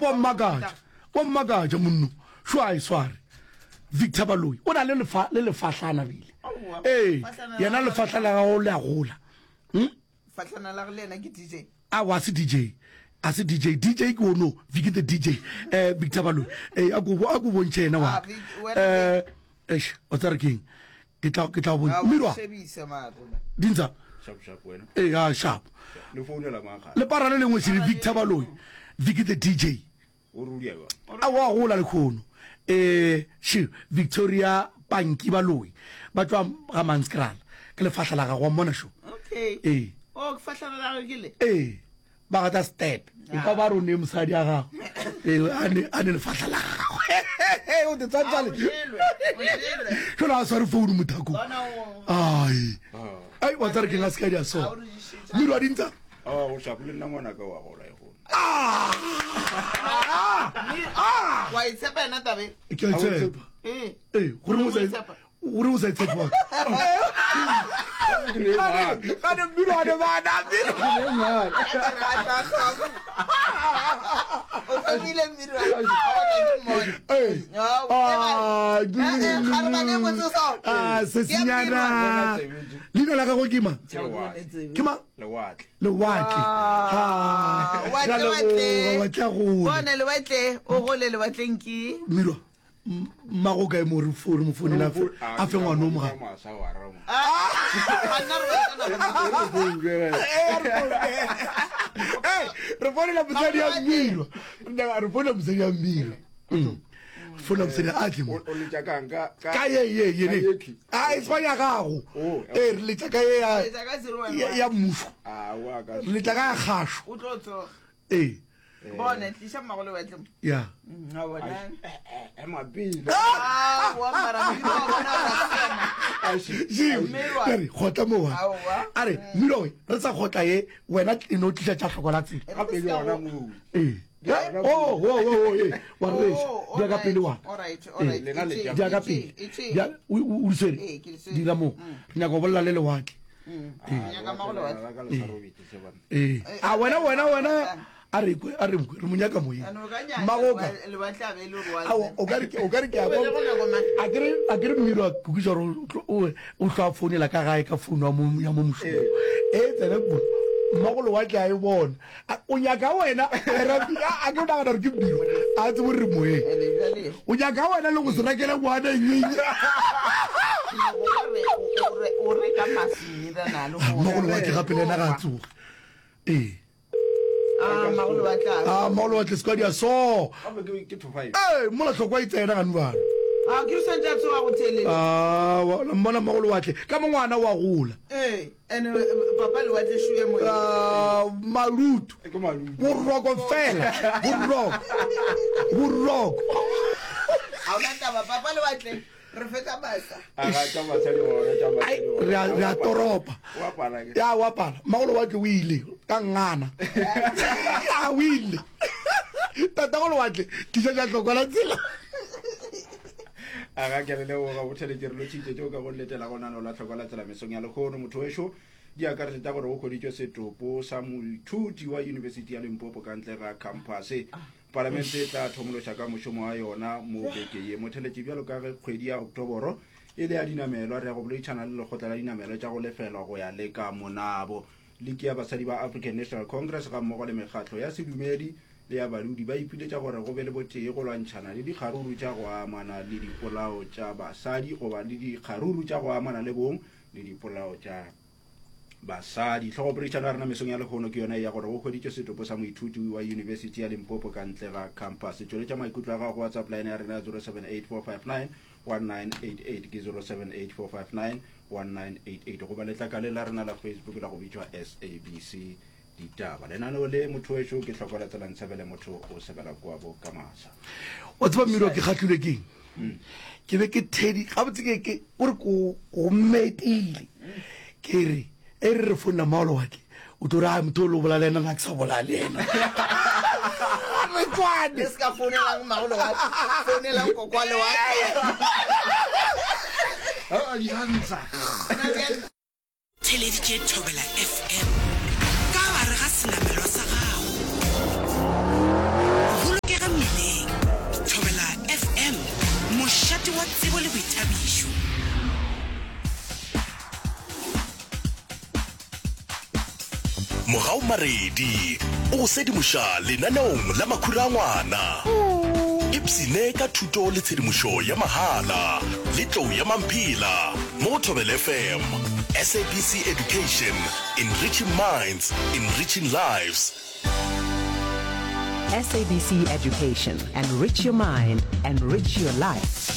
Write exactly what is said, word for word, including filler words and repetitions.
Gape wa mmakatša, wa mmakatša monno. Šo a e sware. Victor Baloyi o na le lefa le lefahlana bile. Aowa, Ee, fahlana la yena gagwe- lefahlana la gago le a gola. Hm? Fahlana la gagwe le yena ke D J. Aowa, a se D J. A se D J. D J ke ono, Vicky the D J. Eh, Victor Baloyi. Eh, a ko a ko bontšhe yena wa Ah, ka. Vic- wena Eh, eish, o tsare keng? Ke tla ke tla go Ah, bontšha. Mirwa, shebise mara. Dintsa. Sharp sharp wena. Ee, a sharp. Le founela mang gape? Le para le lengwe se le Victor Baloyi. Vicky the D J. O rudia ba. A wa gola le khono. Eh, she Victoria Panki Baloyi. Ba tswa ga Manskrala. Ke lefahla la gagwe wa mmona šo. Okay. Ee. Oh, ke fahlana la gagwe ke le. Ee. Ba gata step. E ka ba rone mosadi a gagwe. Ee, a ne a ne lefahla la gagwe. O te tsantsa le. Ah, o jelwe, o jelwe. Jalo a sware phone mothako. Bona o. Ai. Ah. Ai, wa tsare ke nga se ka di a Ah, so. o re dišitše. Mmino wa dintsa. Ah, o sharp le nna ngwana ka wa gola e gola. Ah! Ah! Wa itshepa yena tabe. Ke a tshepa. Eh. Ee, gore o sa O itshepa. gore o sa itshepa wa ka. Gane mmino wa ne bana mmino. O thomile mmino wa- wa ka ke mmone. Ee. Ah, Ah, eh, eh, kgarebane e botse so. Ah, se Ke ya senyana. Leina la gagwe ke mang? Lewatle. Ke mang? Lewatle. Lewatle. Ah, Ha. watle, Ra leboga, watle. watle a gole. Bone lewatle, o gole lewatleng ke. Mmino. m- Mmago kae mo re fo- re mo founela a fe- a fe ngwana o mogare. Masa wa ramo. Ah, banna re batla Hey, re founela mosadi ya mmino. Re nyaka- Re founela mosadi ya mmino. Mm. Re founela mosadi ya a tle mo. O letša kang ka Ka ye ye ye ka ne. ye A e swa ya gago. Oh, Eh, re letša ka ye ya Letša ka zero one ya one. ya mmušo. Ah, wa ka. Re letša ka ya kgašo. O tlo tsoga. Ee. Bone, tliša mmago lewatle mo. Ya. Mm, a bona. Ema pele. Ah, wa mara mmino wa bona o sa siama. Jim, Mmirwa. re kgotla mo wa. Aowa. A re, mmino we, re sa kgotla ye, wena e no tliša tša hloko la tsela. Gape ke yona mo. Ee. Oh, oh, oh, oh, ee. Wa re Oh, reša. Di ya ka alright, pele wa. alright, alright. Ee. Lena le Itše, tša- Di ya ka itše, pele. itše. Di ya- o o- o di swere? Ee, ke di swere. Dira mo. Re nyaka go bolela le lewatle. Mm. Nyaka mmago lewatle. La ka le sa robetse se bana. Ee. A wena wena wena a re kwe a re mkwe re mo nyaka moyeng. Ano, o ka nyaka Mmagoka. lewa- lewatle a be e le gore wa Ao, tsena. o ka re ke o ka re ke a O bele go nako mang? a kere a kere mmino wa kukisa gore o tlo- o o tlo a founela ka gae ka founu ya mo ya mo mošomong e tsene ko mmago lewatle a e bona A- o nyaka wena a ra- a a ke o nagana gore ke mmino a tsebe gore re moyeng Ene bjale, o nyaka wena le go se rekele ngwana nyenye ke nyaka gore o- o re- o reka maswi le gore- mmago lewatle gape le ena ga a tsoge ee. Ah, mmago lewatle a- a mmago lewatle se ka dia so. Gape ke ke two five. Ee, mola tlhokwa e tsena gane bana. Ah, ke re swantse a tsoga go theeletša. Ah, la mmona mmago lewatle ka mo ngwana wa gola. Ee, ene, eh, papa lewatle šoye moyeng. Ah, malutu. Ke malutu. Boroko fela, boroko, boroko. Ha ona taba, papa lewatle, re fetsa masa. A ga tša basadi gona tša Ai, basadi. re a re a toropa. Wa pala ke. Ya wa pala mmago lewatle o ile ka ngana a o ile tatago lewatle tliša tša hloko la tsela. A ga ke le leboga botheletše re lotšhitše tšeo ka go letela go nano la tlhoko la tsela mesong ya lekgono motho wešo di akaretša tša gore go hweditšwe setopo sa moithuti wa University ya Limpopo ka ntle ga campus. Palamente e tla thomološa ka mošomo wa yona mo beke ye. Motheletše bjalo ka ge kgwedi ya Oktoboro e le ya dinamelwa re ya go boledišana le lekgotla la dinamelwa tša go lefelwa go ya le ka monabo. Liki ya basadi ba African National Congress ga mmogo le mekgatlo ya sedumedi le ya badudi ba ipiletša gore go be le botee go lwantšhana le dikgaruru tša go amana le dipolao tša basadi goba le dikgaruru tša go amana le bong le dipolao tša basadi. Tlhogopoledišano ya rena mesong ya lehono ke yona ya gore go hweditšwe setopo sa moithuti wa University ya Limpopo ka ntle ga campus. Tšweletša maikutlo a gago go WhatsApp line ya rena ya zero seven eight four five nine one nine eight eight, ke zero seven eight four five nine one nine eight eight, goba letlakale la rena la Facebook la go bitšwa S A B C Ditaba. Lenaneo le motho wešo ke hlokola tsela ntshebele motho o sebela kua bo ka masa. Wa tseba mmino ke kgahlilwe keng? Ke be ke thedi gabotse ke ke o re ko go mmetile ke re e re re founela mmago lewatle o tlo re a motho o le o bola le ena nna ke sa bola le ena re tswane. Le se ka founelang mmago lewatle, founelang koko wa lewatle. Theleditše Thobela F M ka gare ga senamelwa sa gago. Mogau Maredi o go sedimoša lenaneong la Makhura a Ngwana. Ipshine ka thuto le tshedimošo ya mahala le Tlou ya Mamphela mo go Thobela F M. S A B C Education, enriching minds, enriching lives. S A B C Education. Enrich your mind, enrich your life.